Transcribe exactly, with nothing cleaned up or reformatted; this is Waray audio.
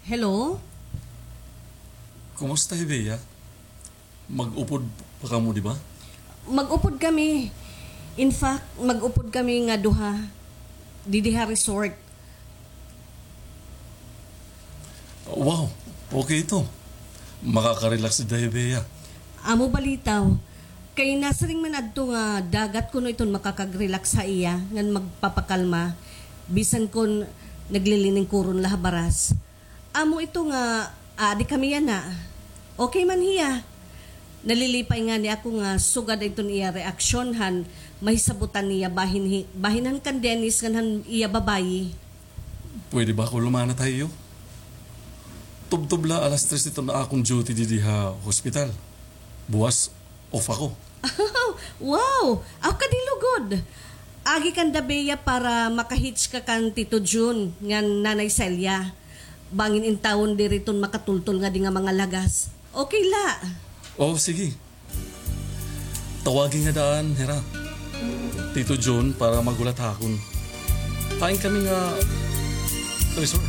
Hello? Kumusta hi Bea? Mag-upod pa kamo, di ba? Mag-upod kami. In fact, mag-upod kami nga duha didi ha resort. Wow, okay ito. Makaka-relax dida hi Bea. Amo balitaw. Kay nasiring man adto nga dagat kuno iton makakag-relax ha iya ngan magpapakalma bisan kon naglilingkuron la ha baras. Amo ito nga aadi kami yana. Okay man hiya. Nalilipay ngani ako nga sugad iton iya reaksyon han mahisabutan niya bahin, hi, bahin han kan Dennis ngan han iya babayi. Pwede ba ako lumanat ha iyo? Tubtob la alas tres iton akon duty didi ha hospital. Buwas off ako. Wow! Aw, kadilugod! Agi kanda Bea para maka-hitch ka kan Tito Jun ngan Nanay Celia. Bangin intawon diri iton makatultol ngadi nga mga lagas. Okay la. Oh, sige. Tawagi nga daan hira, Tito Jun, para maghulat ha akon. Hain kami nga resort?